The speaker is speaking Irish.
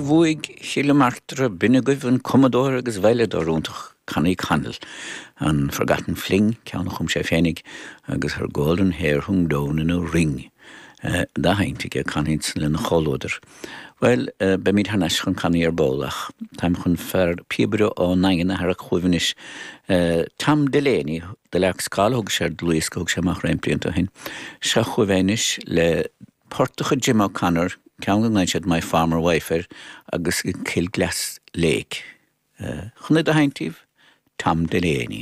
Bhuaigh Chill Martra, b'in agaibh an cumadóir agus veidhleadóir iontach Connie Connell, an Forgotten Fling, ceann a chum sé féinig, agus Her Golden Hair Hung Down in a Ring dá sheinnt aige, Connie lena chomhluadar. Bhuel, beimid thar n-ais chun Connie ar ball ach táim chun fear píobaire ón nDaingean a tharrac chugaibh anois, Tom Delaney, The Lark's Call a thug sé ar dlúthdhiosca a thug sé amach roinnt blianta ó shin. Seo chugaibh é anois le port de chuid Jim O'Connor, ceann go nglaonn siad My Farmer Wife air, agus Kilglass Lake. Chun é do sheinnt daoibh, Tom Delaney.